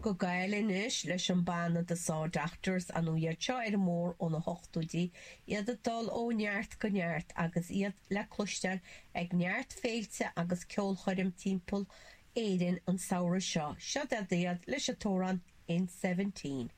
Go Gaillimh anois leis an banna The Saw Doctors, ar ndóigh iad seo ar an mBóthar ó na hochtóidí, iad ag dul ó neart go neart agus iad le cloisteáil ag neart féilte agus ceolchoirm timpeall Éirinn an samhradh seo. Seo iad leis an t-amhrán In Seventeen.